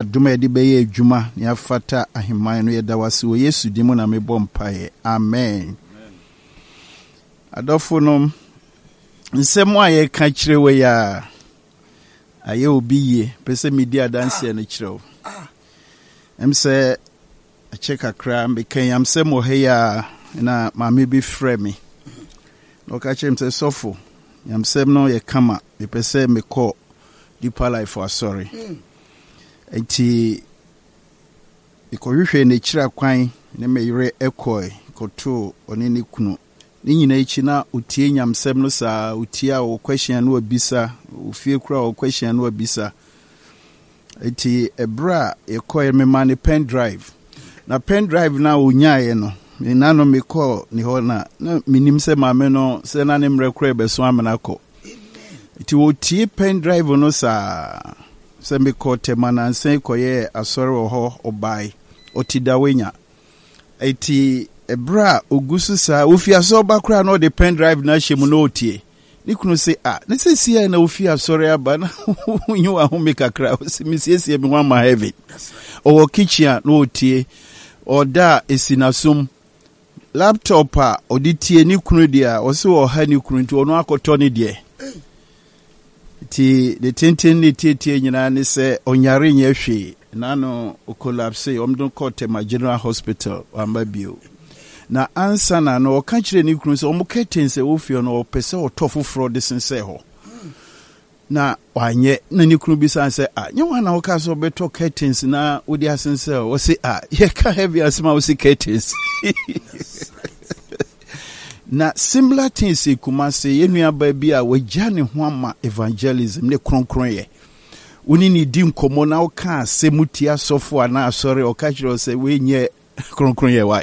Adom a yɛde bɛyɛ adwuma na yɛafata ahemman no, yɛda wo ase wɔ Yesu din mu na mebɔ mpaeɛ. Amen. Adɔfo nom, nsɛm a yɛka kyerɛ wɔ yi a, ayɛ obi yie, pɛ sɛ medi adanseɛ no kyerɛ wo. Ɛm sɛ akyɛ kakra, meka nyamsɛm wɔ ha yi a, na maame bi frɛ me. Na ɔka kyerɛ me sɛ, sɔfo, nyamsɛm no yɛ kama, mepɛ sɛ mekɔ Deeper Life asɔre. Enti mekɔhwehwɛɛ n'akyiri akwan ne me yere kɔe kɔtoo ɔne ne kunu. Ne nyinaa akyi na ɔtie nyamsɛm no saa, ɔtie a ɔwɔ question a na wabisa, ofie koraa ɔwɔ question a na wabisa. Enti ɛberɛ a yɛkɔeɛ memaa no pen drive. Na pen drive no a ɔnyaeɛ no, me nano mekɔɔ ne hɔ na na menim sɛ maame no sɛ na ne mmerɛ koraa ɛbɛso amena kɔ. Nti wɔtie pen drive no saa. Sɛ mekɔɔ Tema nansa yi kɔyɛɛ asɔre wɔ hɔ, ɔbae. Ɔte Dawenya. Enti ɛberɛ a ɔgu so saa, ɔfi asɔre ba koraa na ɔde pen drive no ahyɛ mu na ɔretie. Ne kunu se, ah, ne seesei a na wofi asɔre aba na wonyi w'ahome kakra. Ɔse, mesiesie me ho ama heaven. Ɔwɔ kitchen a na ɔretie. Ɔda a ɛsi n'asom. Laptop a ɔde tie ne kunu deɛ a ɔse ɔha ne kunu nti ɔno akɔtɔ ne deɛ. Nti ne tenten ne tietie nyinaa ne sɛ ɔnyare nyɛ hwee. N'ano ɔkolapse, wɔn de no kɔɔ Tema General Hospital, wamba bio. Na ansa na no ɔka kyerɛɛ ne kunu sɛ wɔn curtains a ɛwɔ fie no ɔpɛ sɛ ɔtɔ foforɔ de sensɛn hɔ. Na wanyɛ. Na ne kunu bisa no sɛ, Ah, nyɛ woa na wokaa sɛ wobɛtɔ curtains na wode asensɛn hɔ? Ɔse, Ah, yɛka heavy asɛm a wose curtains. Na similar things si Kumasi, yɛn nuabaa bi a wagya ne ho ama evangelism ne kronkronyɛ. Wo ne ne di nkɔmmɔ na woka asɛm tia asɔfo anaa asɔre, ɔka kyerɛ wo sɛ wei nyɛ kronkronyɛ wae.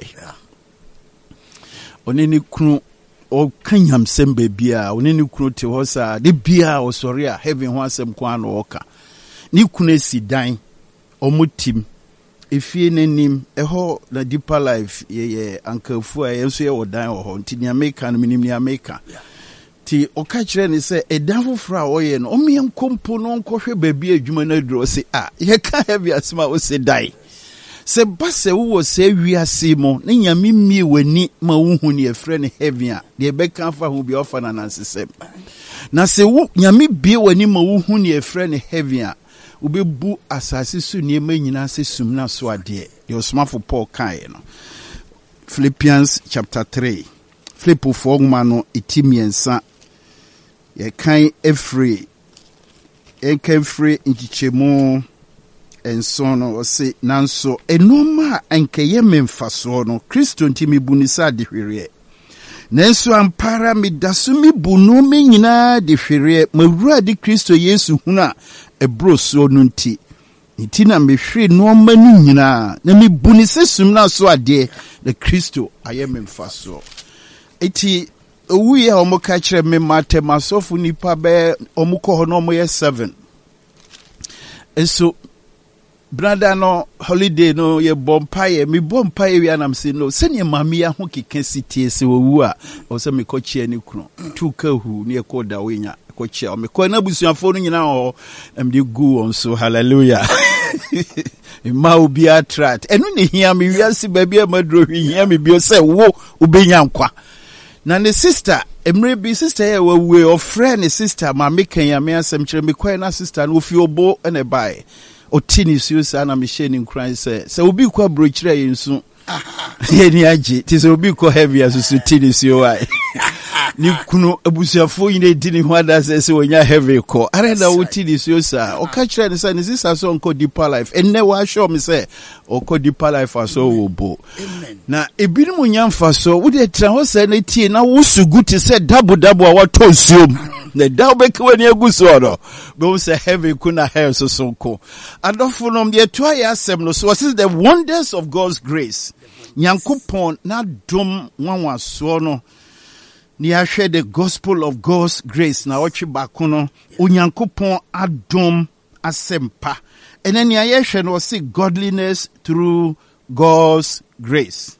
Ɔne ne kunu ɔka nyamsɛm baabiara, ɔne ne kunu te hɔ saa, de biara ɔsɔre a heaven ho asɛm ko ara na ɔka. Ne kunu asi dan, wɔn tim, efie no anim, ɛhɔ na Deeper Life yɛyɛ ankafu a yɛn nso yɛwɔ dan wɔ hɔ, nti nea meka no menim nea meka. Nti ɔka kyerɛɛ no sɛ ɛdan foforɔ a ɔyɛ no ɔmmea nkɔ mpo na ɔnkɔhwɛ baabi a adwuma no aduru. Ɔse a yɛka heavy asɛm a ɔse dan. Sɛ ba sɛ wowɔ saa wiase mu na Nyame mmie w'ani ma wohu nea ɛfrɛ no heaven a, deɛ ɛbɛka afa ho bia ɔfa no anansesɛm. Na sɛ wo Nyame bie w'ani ma wohu nea ɛfrɛ no heaven a, wobɛbu asase so nneɛma nyinaa sɛ sumina so adeɛ. Deɛ ɔsomafo Paul kaeɛ no. Philippians chapter 3. Filipofoɔ nwoma no ti mmiɛnsa, yɛkan firi yɛnkan firi nkyekyɛmu nson no, ɔse, Nanso nnoɔma a anka ɛyɛ me mfasoɔ no, Kristo nti mebu no sɛ adehwereɛ. Nanso ampa ara meda so mebu nnoɔma nyinaa adehwereɛ, m'Awurade Kristo Yesu hunu a ɛboro soɔ no nti. Enti na mehwere nnoɔma no nyinaa, na mebu no sɛ sumina so adeɛ, na Kristo ayɛ me mfasoɔ. Enti owuiɛ a wɔka kyerɛ me matɛm asɔfo nipa bɛyɛ wɔn kɔ hɔ na wɔyɛ seven. Nso brada no holiday no yɛbɔ mpaeɛ, mebɔ mpaeɛ wie anam sɛ no sɛdeɛ maame yi aho keka si tie sɛ owu a ɛwɔ sɛ mekɔkyea ne kunu tu ka hu ne yɛkɔ da wonya kɔkyea wɔn. Mekɔɛ na abusuafoɔ no nyinaa wɔ hɔ na mede gu wɔn so. Hallelujah. Mma obiara trat. Ɛno na ehia me wiase baabi a maduro hwee hia me bio sɛ wo wobɛnya nkwa. Na ne sista, mmerɛ bi sista yɛ wawue, ɔfrɛ ne sista ma meka Nyame asɛm kyerɛ mekɔɛ na sista no ofi obo na ɛbaeɛ. Ɔte ne suo saa na mehyɛ ne nkuran sɛ sɛ obi kɔ aburokyerɛ a yɛnsu. Yɛni agye te sɛ obi kɔ heavy asusu ti ne suo wa ne kunu abusuafoɔ nyina di ne ho adasɛ sɛ wɔnya heavy kɔ ara na wote ne suo saa. Ɔka kyerɛ ne sɛ ne sisa sɛ ɔnkɔ deeper life. Ɛnnɛ wɔahyɛ me sɛ ɔkɔ deeper life asɔ wɔ bo na ebinom nya mfasoɔ. Wode tena hɔ sɛ na tie na wosu gu te sɛ dabodabo a watɔ nsuom na da wobɛka w'ani agu soɔ no bɛhu sɛ heaven ko na hell soso nko. Adɔfo nom, yɛtoa yɛ asɛm no so. Ɔse the wonders of God's grace. Nyankopɔn n'adom nwanwasoɔ no. Ne yɛahwɛ the gospel of God's grace na ɔtwe baako no, Onyankopɔn adom asɛmpa. Ɛnɛ nea yɛhwɛ no, ɔse godliness through God's grace.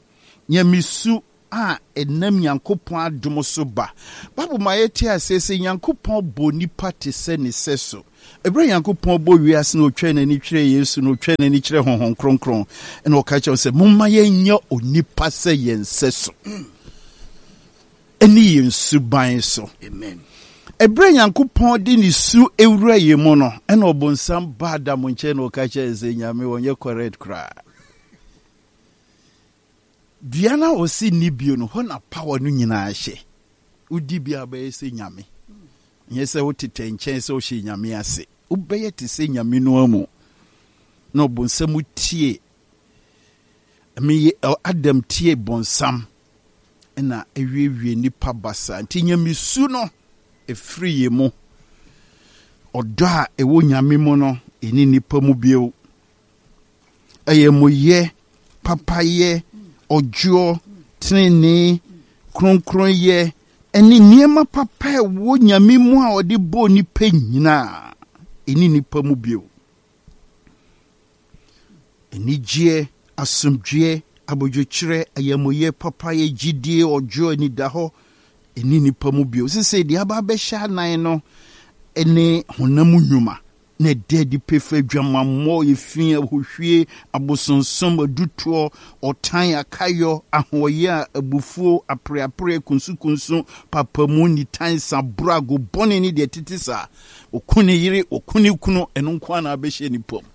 Nyamesu a ɛnam Nyankopɔn adom so ba. Bible ma yɛte aseɛ sɛ Nyankopɔn bɔɔ nipa te sɛ ne sɛso. Ɛberɛ a Nyankopɔn bɔ wiase na ɔtwaa n'ani kyerɛɛ Yesu na ɔtwaa n'ani kyerɛɛ Honhom Kronkron na ɔka kyerɛ sɛ momma yɛnyɛ onipa sɛ yɛn sɛso ɛne yɛn suban so. Amen. Ɛberɛ a Nyankopɔn de ne su ewura yɛn mu no, ɛna ɔbonsam ba Adam nkyɛn na ɔka kyerɛ sɛ Nyame ɔnyɛ correct koraa. Dua no a ɔse nni bio no, hɔ na power no nyinaa hyɛ. Wodi bi a wobɛyɛ sɛ Nyame. Nyɛ sɛ wotetɛ nkyɛn sɛ wohyɛ Nyame ase. Wobɛyɛ te sɛ Nyame no ara mu. Na ɔbonsam tie, meye Adam tie bonsam na awiewie nnipa basaa. Nti Nyamesu no ɛfiri yɛn mu. Ɔdɔ a ɛwɔ Nyame mu no, ɛni nnipa mu bio. Ayamuyɛ, papayɛ, ɔdwoɔ, tenenee, kronkronyɛ, ne nneɛma papa a ɛwɔ Nyame mu a ɔde bɔɔ nnipa nyinaa, ɛnni nnipa mu bio. Anigyeɛ, asomdwoeɛ, abodwokyerɛ, ayamuyɛ, papayɛ, gyidie, ɔdwoɔ, anidahɔ, ɛnni nnipa mu bio. Sesei deɛ aba abɛhyɛ anan no ne honam nnwuma. na ɛda adi pefee adwamammɔ, efi, ahohwie, abosonsom, adutoɔ, ɔtan, akayɔ, ahoɔyea, abufuo, apereapereɛ, kunsukunsu, papamu, nitan, saboro, ago bɔne ne deɛ ɛtete saa. Ɔku ne yere, ɔku ne kunu, ɛno nko ara na abɛhyɛ nnipa mu.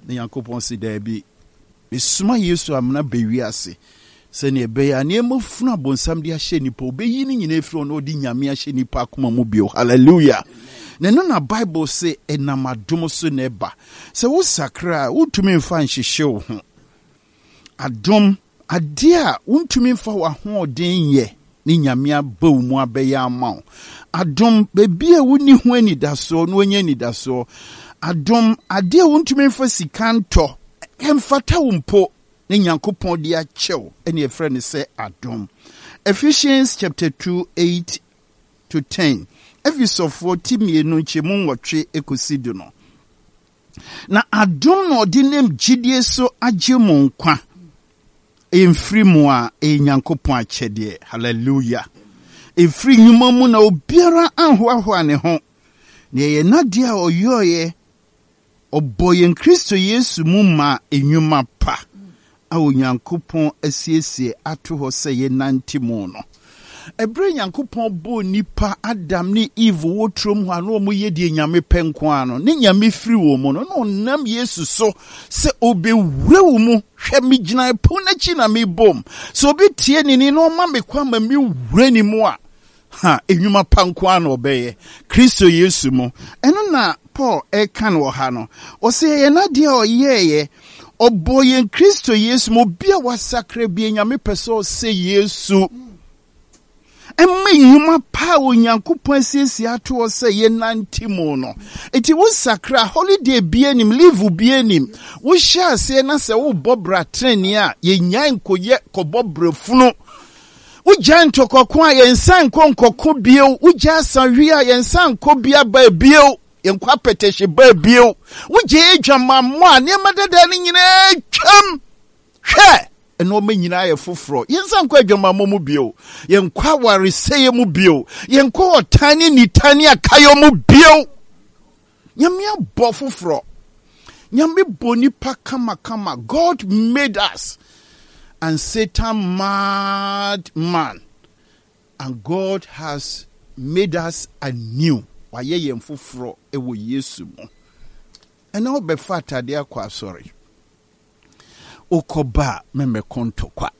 Na Nyankopɔn se daabi. Mesoma Yesu amena ba wiase sɛnea ɛbɛyɛ a nneɛma funu a bonsam de ahyɛ nnipa, obeyi ne nyinaa afiri hɔ na ɔde Nyame ahyɛ nnipa akoma mu bio. Hallelujah! Na ɛno na Bible se ɛnam adom so na ɛba. Sɛ wosakra a, wontumi mfa nhyehye wo ho. Adom, adeɛ a wontumi mfa w'ahoɔden nyɛ ne Nyame aba wo mu abɛyɛ ama wo. Adom, baabi a wonni ho anidasoɔ na woanya anidasoɔ. Adom, adeɛ a wontumi mfa sika ntɔ, ɛmfata wo mpo, ne Nyankopɔn de akyɛ wo, ɛne ɛfrɛ no sɛ adom. Ephesians chapter 2, 8 to 10. Efesofoɔ ti mmienu nkyɛmu nwɔtwe kɔsi du no. Na adom na ɔde nam gyidie so agye mo nkwa. Ɛmfiri mo a, ɛyɛ Nyankopɔn akyɛdeɛ. Hallelujah. Ɛmfiri nnwuma mu na obiara anhoahoa ne ho. Na ɛyɛ n'adeɛ a ɔyɔeɛ, ɔbɔɔ yɛn Kristo Yesu mu maa nnwuma pa a Onyankopɔn asiesie ato hɔ sɛ yɛnnante mu no. Ɛberɛ a Nyankopɔn bɔɔ nnipa, Adam ne Eve wɔ turom hɔ a na wɔyɛ deɛ Nyame pɛ nko ara no, ne Nyame firi wɔn mu no, na ɔnam Yesu so sɛ ɔbɛwura wo mu. Hwɛ, megyina ɛpono no akyi na mebom. Sɛ obi tie ne nne na ɔma me kwan ma mewura ne mu a, Ha, nnwuma pa nko ara na ɔbɛyɛ. Kristo Yesu mu. Ɛno na Paul reka no wɔ ha no. Ɔsɛ yɛyɛ n'adeɛ a ɔyɛeɛ. Ɔbɔɔ yɛn Kristo Yesu mu. Obi a wasakra bi, Nyame pɛ sɛ ɔsɛ Yesu. Ɛma nnwuma pa a Onyankopɔn asiesie ato hɔ sɛ yɛnante mu no. Enti wosakra, holiday bi anim, leave bi anim. Wohyɛ aseɛ na sɛ wobɔ bra tenenee a, yɛnyae nkɔyɛ kɔbɔ bra funu. Wogyae ntɔkwako a, yɛnsan nkɔ nkɔko bio. Wogyae asawe a, yɛnsan nkɔ bia baa bio. Yɛnkɔ apɛtɛhye baa bio. Wogyae adwamammɔ a, nneɛma dada no nyinaa twam. Hwɛ! Nneɛma nyinaa yɛ foforɔ. Yɛnsan nkɔ adwamammɔ mu bio. Yɛnkɔ awaresɛeɛ mu bio. Yɛnkɔ ɔtan ne nitan ne akayɔ mu bio. Nyame abɔ foforɔ. Nyame bɔ nipa kamakama. God made us and Satan mad man. And God has made us anew. Wayɛ yɛn foforɔ wɔ Yesu mu. Ɛna wobɛfa atadeɛ akɔ asɔre. Wokɔba a memmɛko ntɔkwa.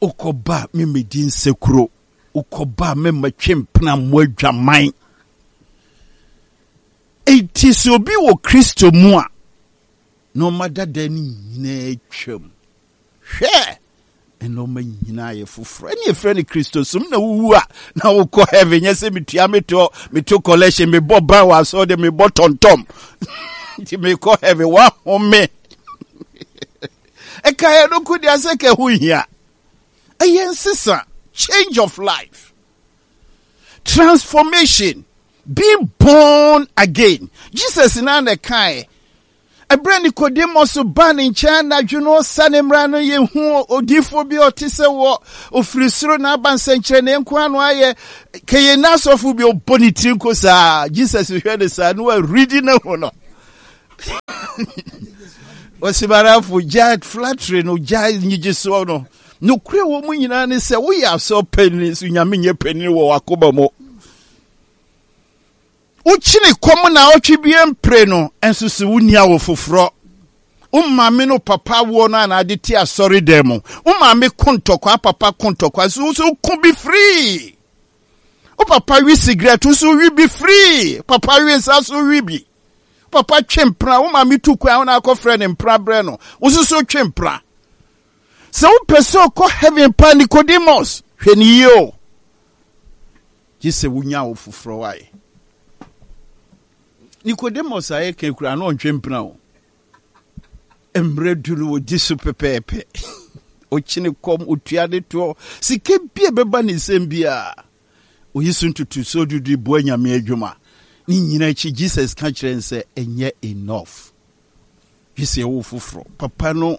Wokɔba a memmɛdi nsekuro. Wokɔba a mɛma twe mpena mmɔ adwaman. Enti sɛ obi wɔ Kristo mu a, nneɛma dada no nyinaa twam. Hwɛ! Nneɛma nyinaa yɛ foforɔ. Ɛne yɛfrɛ no Kristosom na wowu a na wokɔ heaven. Nyɛ sɛ metua metoɔ, meto collection, mebɔ ban wɔ asɔre de mebɔ tɔntɔm. Nti mekɔ heaven, woahome. Ɛka yɛ no ko deɛ sɛ ka ho hia. Ɛyɛ nsesa, change of life, transformation, being born again. Jesus na na ɛkae. Ɛberɛ Nicodemus baa ne nkyɛn anadwo no ɔsa ne mmara no yɛhu odiyifoɔ bi a ɔte sɛ wɔ ɔfiri soro na aba nsɛnkyerɛnneɛ nko ano ayɛ kɛyɛ na asɔfo bi ɔbɔ ne tiri nko saa. Jesus hwɛ ne saa na waridi ne ho no. Ɔsimarafo gya flattery no gya nyigyesoɔ no. Nokorɛ wɔ mu nyinaa ne sɛ woyɛ asɔ panyin so Nyame nyɛ panyin wɔ wakoma mu. Wokyini kɔm naawɔtwe bi mpire no nso so wonni awo foforɔ. Wo maame no papa awoɔ no a na ade te asɔre dan mu. Wo maame ko ntɔkwa, papa ko ntɔkwa nso wo nso ko bi firii. Wo papa wi sigaret wo nso wi bi firii. Papa wi nsa so wi bi. Papa twe mpena, wo maame tu kwan wo na akɔfrɛ ne mpena brɛ no. Wo nso so twe mpena. Sɛ wopɛ sɛ ɔkɔ heaven pa Nicodemus, hwɛ ne yie o. Gye sɛ wonya wo foforɔ wae. Nicodemus a yɛka kura na ɔntwe mpena o. Mmerɛ du no wɔdi so pɛpɛɛpɛ. Ɔkyene kɔm, ɔtua ne toɔ, sika bi a ɛbɛba ne nsam biara. Oyi so ntotosoɔ dudu boa Nyame adwuma. Ne nyina akyi Jesus ka kyerɛ no sɛ ɛnyɛ enough. Gye sɛ ɛwo foforɔ. Papa no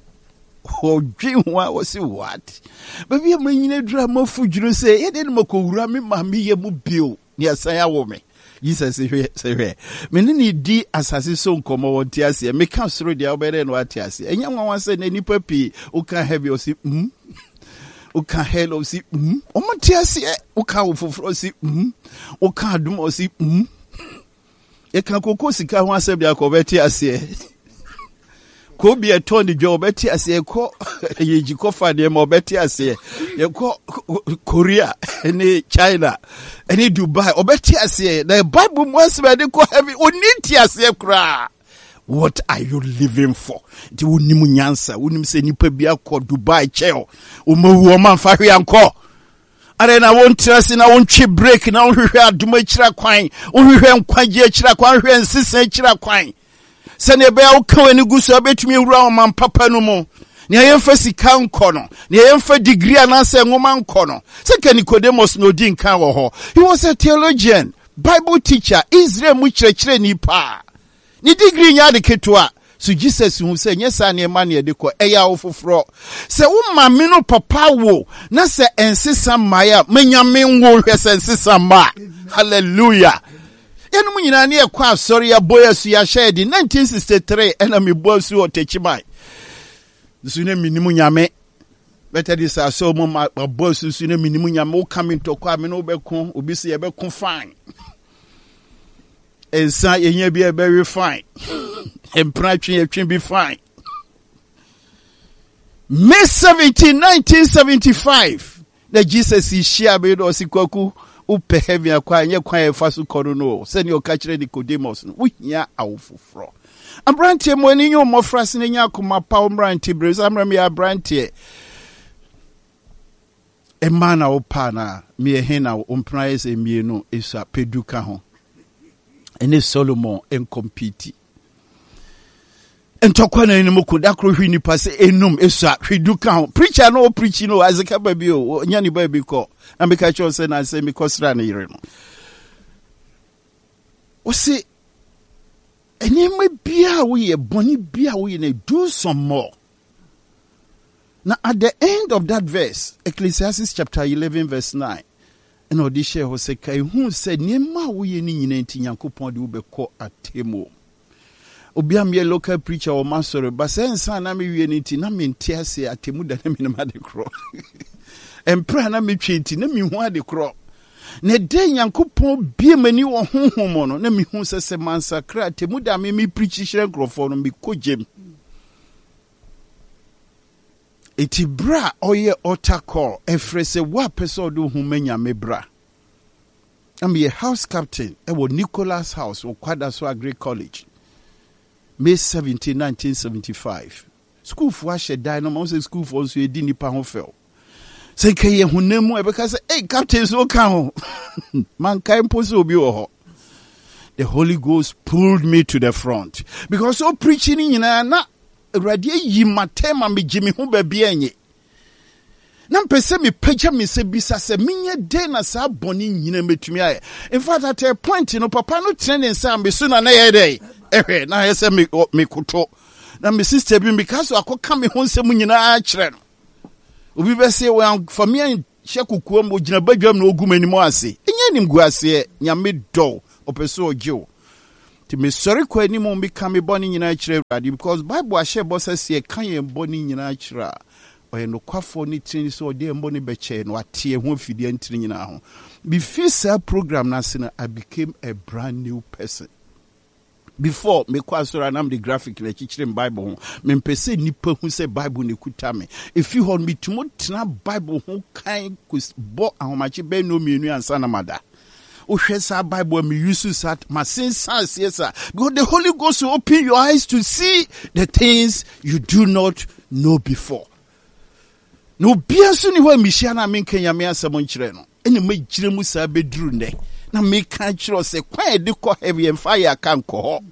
ɔdwen ho a ɔse what? Baabi a manyina duru a mafu dwunu sɛ yɛde no makɔwura me maame yɛ mu bio ne asan awo me. Jesus hwɛ sɛ hwɛ me ne ne di asase so nkɔmmɔ wɔnte aseɛ meka soro deɛ wobɛyɛ dɛ na wate aseɛ. Ɛnyɛ nwanwa sɛ na nnipa pii woka heaven ɔse mm woka hell ɔse mm wɔn te aseɛ woka wo foforɔ ɔse mm woka adom ɔse mm Yɛka koko sika ho asɛm deɛ akɔ ɔbɛte aseɛ. Kɔ bi ɛtɔ ne dwa ɔbɛte aseɛ. Yɛkɔ yɛgyi kɔfa nneɛma ɔbɛte aseɛ. Yɛkɔ Korea ne China ne Dubai ɔbɛte aseɛ. Na Bible mu asɛm a yɛde kɔ heaven ɔni nte aseɛ koraa. What are you living for? Nti wonim nyansa, wonim sɛ nipa bi akɔ Dubai kyɛw, wɔmawu ɔma mfa hwee ankɔ. Adɛn na wontra ase na wontwe break na wonhwehwɛ adom akyira kwan, wonhwehwɛ nkwagye akyira kwan, wonhwehwɛ nsesa akyira kwan, sɛnea ɛbɛyɛ a woka w'ani gu so a wobɛtumi awura ɔman papa no mu. Nea yɛmfa sika nkɔ no, nea yɛmfa degree anaasɛ nwoma nkɔ no. Sɛ ka Nicodemus na odi nkan wɔ hɔ. He was a theologian, Bible teacher, Israel mu kyerɛkyerɛni paa. Ne degree nyɛ ade ketewa. So Jesus hu sɛ nyɛ saa nneɛma na yɛde kɔ? Ɛyɛ awo foforɔ. Sɛ wo maame no papa wo na sɛ ɛnsesa mmaeɛ a, ma Nyame nwo nhwɛ sɛ nsesa mma a. Hallelujah. Yɛnom nyinaa ne yɛkɔ asɔre, yɛabɔ yɛ asu, yɛahyɛ yɛ den. 1963 ɛna mebɔ asu wɔ Techiman. Nso ne menim Nyame. Methodist asɔre mu ma mabɔ asu nso ne menim Nyame. Woka me ntɔkwa a me ne wobɛko, obi sɛ yɛbɛko fine. Nsa yɛnya bi a ɛbɛwe fine. Mpena twe yɛtwe bi fine. May 17, 1975 na Jesus hyia me na ɔsi kwaku wopɛ heaven akɔ a ɛnyɛ kwan a ɛfa so kɔ no no sɛnea ɔka kyerɛ Nicodemus no wohia awo foforɔ. Aberanteɛ mo ani nye mmɔfra se na nya akoma pa wo mmerante bere sɛ mmerɛ meyɛ aberanteɛ Mmaa na wopɛ anaa? Meyɛ he na wo mpena ayɛ sɛ mmienu esua pɛ du ka ho. Ɛne Solomon nkɔmpiti. Ntɔkwa na anim ko da koro hwe nipa sɛ enum esua hwe du ka ho. Preacher no ɔpreachi no Isaac ba bi o ɔnya ne baabi kɔ. Na meka kyerɛ sɛ na sɛ mekɔsra ne yere no. Ɔse nneɛma biara woyɛ bɔne biara woyɛ no do some more. Na at the end of that verse, Ecclesiastes chapter 11 verse 9, ɛna ɔde hyɛɛ hɔ sɛ, Kae hu sɛ nneɛma a woyɛ no nyinaa nti Nyankopɔn de wo bɛkɔ atemmuo. Obi a meyɛ local preacher wɔ m'asɔre, ba sɛ nsa a na mewie no nti na mente aseɛ atemmu da na menim ade korɔ. Mprɛ a na metwe nti na mehu ade korɔ. Na ɛdɛ Nyankopɔn bie m'ani wɔ honhom mu no, na mehu sɛ sɛ mansakra atemmu da a me me preachi kyerɛ nkurɔfoɔ no, mekɔ gyam. Enti berɛ a ɔyɛ altar call, ɛfrɛ sɛ wo a pɛ sɛ ɔde wo ho ma Nyame bra. Na meyɛ house captain wɔ Nicholas House wɔ Kwadaso Agric College, May 17, 1975. Sukuufoɔ ahyɛ dan no ma wo sɛ sukuufoɔ nso yɛdi nnipa ho fɛw. Sɛ nka yɛ honam mu a ɛbɛka sɛ, ei, captain so woka ho. Mankae mpo sɛ obi wɔ hɔ. The Holy Ghost pulled me to the front because o preaching ni nyinaa na Awurade ayi matɛn ma megye me ho baabi ɛnye. Na mpɛ sɛ mepagya me nsa bisa sɛ menyɛ dɛn na saa bɔne nyina mɛtumi ayɛ. In fact, at a point no, papa no tene ne nsa a me so na na ɛyɛ dɛn? Ɛhwɛ na ayɛ sɛ me mekoto. Na me sister bi meka so akɔka me ho nsɛm nyinaa kyerɛ no. Obi bɛse wɔamfa me anhyɛ kokoam, ogyina badwam na ogu m'anim ase. Ɛnyɛ animguaseɛ, Nyame dɔ wo, ɔpɛ sɛ ɔgye wo. Nti mesɔre kɔ anim meka me bɔne nyinaa kyerɛ Awurade because Bible ahyɛ bɔ sɛ sɛ yɛka yɛn bɔne nyinaa kyerɛ a, ɔyɛ nokwafoɔ ne tenenee sɛ ɔde yɛn bɔne bɛkyɛ yɛn na wate yɛn ho afi deɛ ntene nyinaa ho. Mefiri saa program no ase no, I became a brand new person. Before mekɔ asɔre a na mede graphic na ɛkyekyere me Bible ho. Mempɛ sɛ nnipa hu sɛ Bible na ɛkuta me. Ɛfi hɔ no, metumi tena Bible ho kan bɔ ahomakye bɛyɛ nnɔnmienu ansa na mada. Wohwɛ saa Bible a me use saa masensan aseɛ saa because the Holy Ghost will open your eyes to see the things you do not know before. Na obiara nso ni hɔ a mehyia no a menka Nyame asɛm nkyerɛ no. Ɛna magyina mu saa bɛduru nnɛ na meka kyerɛ sɛ kwan a yɛde kɔ heaven yɛmfa yɛ aka nkɔ hɔ.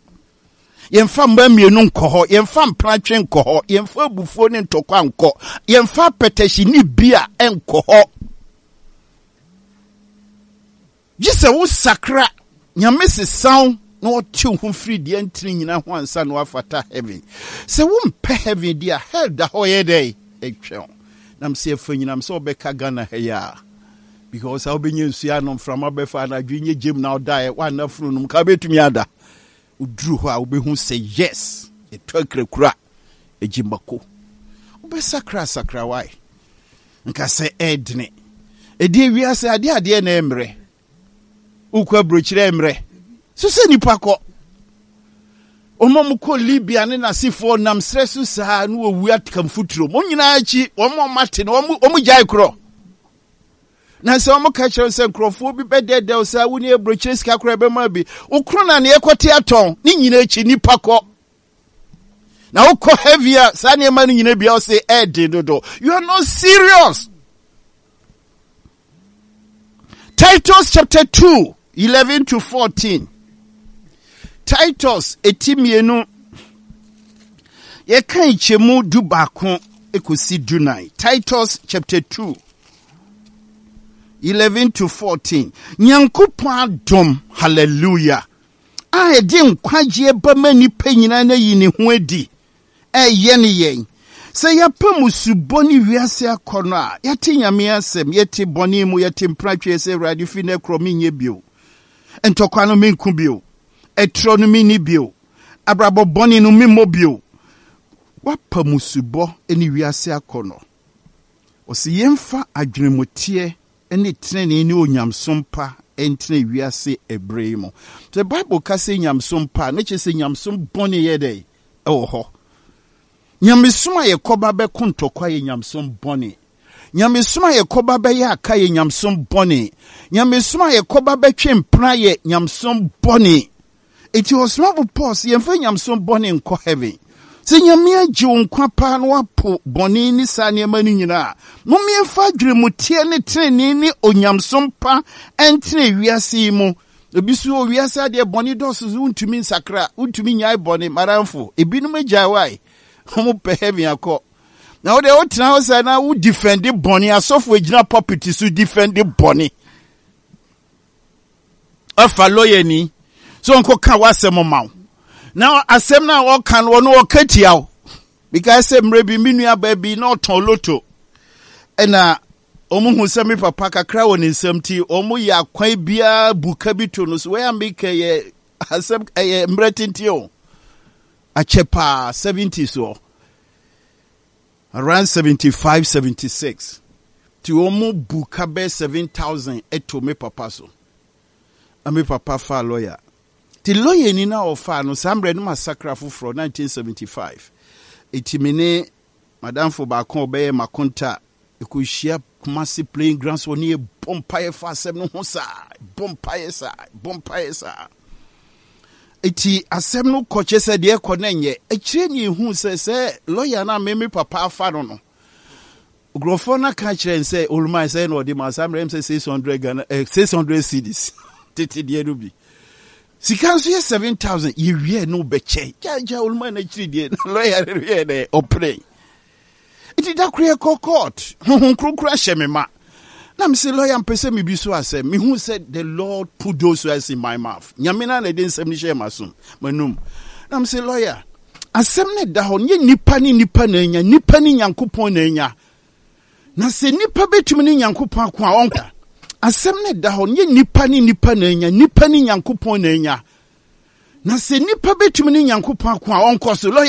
Yɛmfa mmaa mmienu nkɔ hɔ, yɛmfa mpratwe nkɔ hɔ, yɛmfa abufuo ne ntɔkwa nkɔ, yɛmfa apɛtɛhye ne bia nkɔ hɔ. Gye sɛ wo sakra, Nyame sesa wo na ɔte wo ho firi deɛ ntene nyina ho ansa na woafata heaven. Sɛ wo mpɛ heaven deɛ a, hell da hɔ yɛ dɛn? Ɛtwɛn wo. Na mesɛ ɛfa nyinam sɛ wobɛka Ghana ha yi a, because a wobɛnya nsuo anom, mframa bɛfa anadwo nyɛ gyem na wodaeɛ, woanna funu nom, ka wobɛtumi ada. Woduru hɔ a wobɛhu sɛ yes, yɛtɔ akrakura, ɛgye mako. Wobɛsakra sakra wae. Nka sɛ ɛɛdene. Ɛdeɛ wiase adeɛ adeɛ na ɛmmerɛ. Wokɔ aburokyerɛ ɛmmerɛ. So sɛ nipa kɔ. Wɔn a wɔkɔ Libya ne n'asefoɔ nam serɛ so saa na wɔwu aka mfuturo. Wɔn nyinaa akyi wɔn a wɔate no wɔn gyae korɔ. Na sɛ wɔn ka kyerɛ sɛ nkurɔfoɔ bi bɛdɛɛdɛw saa wo ne aburokyerɛ sika koraa ɛbɛma bi. Wokoro na neɛ kɔte atɔn ne nyinaa akyi nipa kɔ. Na wokɔ heavy a saa nneɛma no nyina bia ɔse ɛɛden dodo. You are not serious. Titus chapter 2, 11 to 14. Titus eti mmienu yɛka nkyɛmu du baako ekosi du nan. Titus chapter 2, 11 to 14. Nyankopɔn adom, hallelujah. a ɛde nkwagyeɛ ba ma nnipa nyinaa no ayi ne ho adi ɛreyɛne yɛn. Sɛ yɛapa mmusubɔ ne wiase akɔnnɔ a, yɛate Nyame asɛm, yɛte bɔne mu, yɛte mpratweɛ sɛ Awurade fi nnɛ korɔ menyɛ bio, ntɔkwa no menko bio, ɛtorɔ no menni bio, abrabɔ bɔne no memmɔ bio. Woapa mmusubɔ ne wiase akɔnnɔ. Ɔse yɛmfa adwenemuteɛ ne trenee ne onyamesom pa ntena wiase ɛberɛ yi mu. Sɛ Bible ka sɛ nyamesom pa a, na kyerɛ sɛ nyamesom bɔne yɛ dɛn? Ɛwɔ hɔ. Nyamesom a yɛkɔba bɛko ntɔkwa yɛ nyamesom bɔne. Nyamesom a yɛkɔba bɛyɛ aka yɛ nyamesom bɔne. Nyamesom a yɛkɔba bɛtwe mpena yɛ nyamesom bɔne. Enti ɔsomafo Paul se yɛmfa nyamesom bɔne nkɔ heaven. Sɛ Nyame agye wo nkwa paa na woapo bɔne ne saa nneɛma no nyinaa a, mom yɛmfa adwenemuteɛ ne trenee ne onyamesom pa ntena wiase yi mu. Ebi so wɔ wiase adeɛ bɔne dɔɔso so wontumi nsakra, wontumi nnyae bɔne. Madamfo, ebinom agyae wae, wɔn pɛ heaven akɔ. Na wo deɛ wotena hɔ saa na wo defend bɔne, asɔfo agyina pulpit so defend bɔne. Afa lɔyani sɛ ɔnkɔka w'asɛm ma wo na asɛm no a ɔka no ɔno ɔka tia wo because sɛ mmerɛ bi me nuabaa bi na ɔtɔn loto ɛna wɔn hu sɛ me papa kakra wɔ ne nsam ti wɔn yɛ akwan biara bu ka bi to no so wɔyɛ meka yɛ asɛm ɛyɛ mmerɛ tenten o akyɛ paa 70 soɔ Around 75, 76 nti wɔn bu ka bɛyɛ 7000 to me papa so. Na me papa faa lawyer. Nti lawyer ni na ɔfaa no saa mmerɛ no ma sakra foforɔ 1975. Nti me ne madamfo baako a ɔbɛyɛ makonta ɛkɔhyia Kumasi playing ground so ɔne yɛ bɔ mpaeɛ fa asɛm no ho saa, bɔ mpaeɛ saa, bɔ mpaeɛ saa. Eti asɛm no kɔ kyerɛ sɛ deɛ ɛkɔ no nyɛ. Akyire ne ehu sɛ sɛ lɔya no a me me papa afa no no, nkurɔfoɔ no aka kyerɛ n sɛ oluman sɛ na ɔde ma saa mmerɛ m sɛ 600 Ghana eh, 600 cedis tete deɛ no bi. Sika nso yɛ 7000 yɛwie no bɛkyɛ. Gya gya oluman no akyiri deɛ na lɔya no yɛ dɛ ɔpene. Nti da koro yɛkɔ court, Honhom Kronkron ahyɛ me ma. Na mese lawyer mpɛ sɛ mebi so asɛm. Mehu sɛ the Lord put those words in my mouth. Nyame no na ɛde nsɛm no hyɛɛ m'asom, m'anum. Na mese, lawyer, asɛm no da hɔ, nyɛ nipa ne nipa na anya, nipa ne Nyankopɔn na anya. Na sɛ nipa bɛtumi ne Nyankopɔn ako a, ɔnka. Asɛm no da hɔ, nyɛ nipa ne nipa na anya, nipa ne Nyankopɔn na anya. Na sɛ nipa bɛtumi ne Nyankopɔn ako a, ɔnkɔ so. Lawyer.